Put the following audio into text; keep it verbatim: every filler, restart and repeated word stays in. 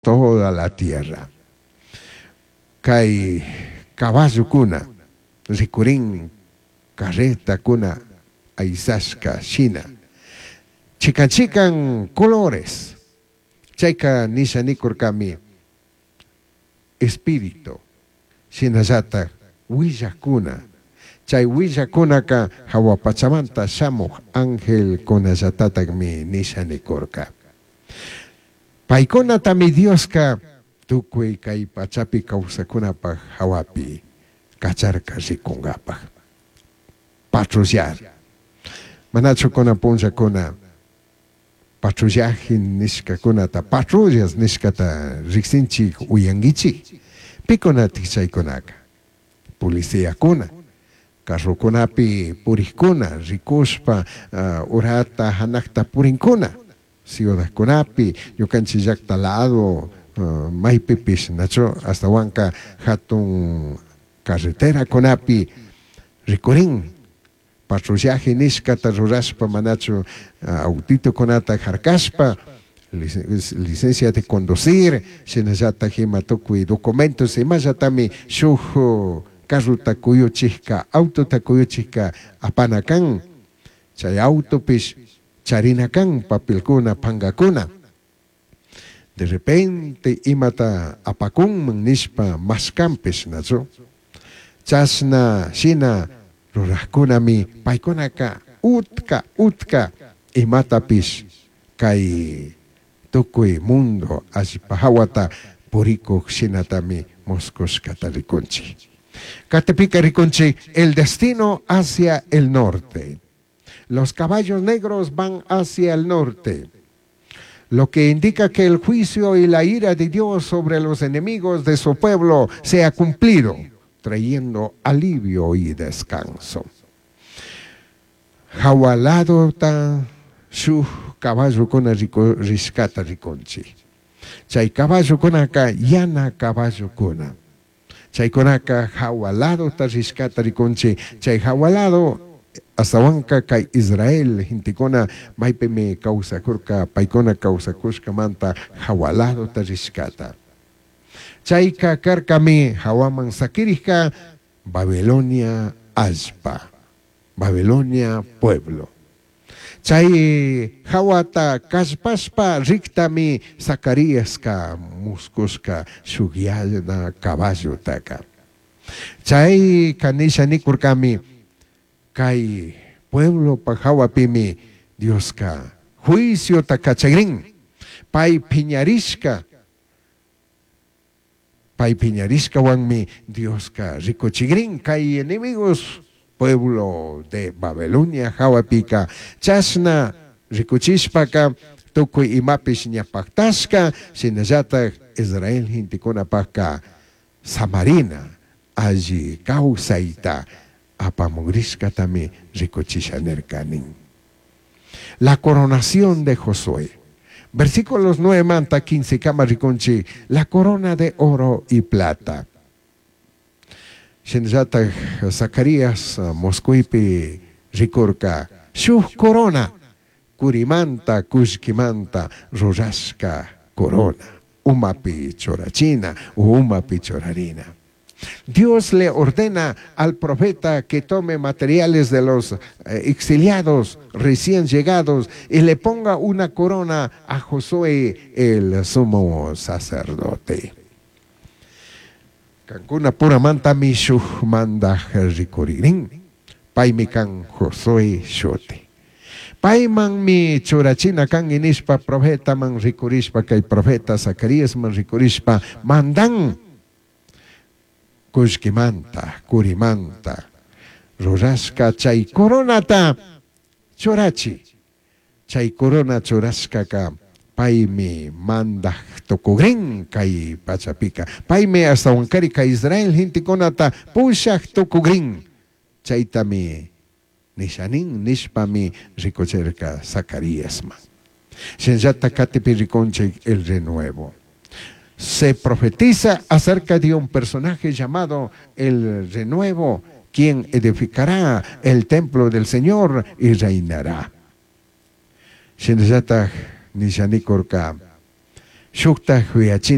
Toda la tierra. Kay caballokuna rikurin carretakuna aysashka shina. Chikan chikan colores. Chayka nisha nikurkami espíritu shinallatak willakuna. Chay willakunaka hawa pachamanta shamuj angelkunallatatakmi nisha nikurka. Paykunatami Dioska tukuy kay pachapi kawsakunapaj hawapi kacharka rikunkapaj. Patrullar. Manachu kunan punllakuna patrullaje nishkakunata, patrullas nishkata riksinchik uyankichik. Pikunatik chaykunaka? Policíakuna, carrokunapi purikkuna, rikushpa uh, urata hanakta purinkuna, ciudadkunapi, ñukanchik llakta lado uh, maypipish, nachu astawanka hatun carreterakunapi rikurin patrullaje nishkata rurashpa manachu uh, autitokunata harkashpa licencia de conducir, shinallatak ima tukuy documentos imallatami shuk carrota kuyuchikka, autota kuyuchikka apana kan, chay autopish charina kan papelkuna pankakuna. De repente imata apakunman nishpa mashkanpish, nachu? Chashna shina rurajkunami paykunaka utka utka imatapish kay tukuy mundo allpa hawata purikuj shinatami muskushkata rikunchik. Katipika rikunchik el destino hacia el norte. Los caballos negros van hacia el norte, lo que indica que el juicio y la ira de Dios sobre los enemigos de su pueblo se ha cumplido, trayendo alivio y descanso. Jahua ladota shuj caballokuna rishkata rikunchik. Chay caballokunaka yana caballokuna. Chaykunaka jahua ladota rishkata rikunchik. Chay jahua lado astawanka kay Israel gentekuna maypimi kawsakurka paykuna kawsakushkamanta jahua ladota rishkata. Chayka karkami jawaman sakirijka Babilonia allpa, Babilonia pueblo. Chay jawata kallpashpa riktami Zacaríaska muskushka shuk yana caballotaka. Chay kanisha nikurkami kay pueblo jawapimi Dioska juiciota kachagrin. Pay piñarishka, pay piñarishkawanmi Dioska rikuchigrin kay enemigos pueblo de Babilonia jawapika chashna rikuchishpaka tukuy imapish ña paktashka shinallatak Israel gentekunapaka samarina alli kawsayta apamugrishkatami rikuchisha nirka nin. La coronación de Josué. Versículos nueve manta quince kama rikunchik, la corona de oro y plata. Shinallatak Zacarías Moscuipi rikurka shuj corona kurimanta kullkimanta rurashka corona umapi churachina umapi churarina. Dios le ordena al profeta que tome materiales de los eh, exiliados recién llegados y le ponga una corona a Josué, el sumo sacerdote. Kankuna puramantami shuj mandaj rikuririn, paymi kan Josué shuti. Paymanmi churachina kan nishpa profetaman rikurishpa kay profeta Zacaríasman rikurishpa mandan kullkimanta, kurimanta, rurashka chay coronata churachi. Chay corona churashkaka paymi mandaj tukugrin kay pachapika. Paymi astawankari kay Israel gentekunata pushaj tukugrin. Chaytami nishanin nishpami rikuchirka Zacaríasman. Shinallata katipi rikunchik el renuevo. Se profetiza acerca de un personaje llamado el Renuevo, quien edificará el templo del Señor y reinará. Shinallatak nishanikurka Shujtaj yuyachina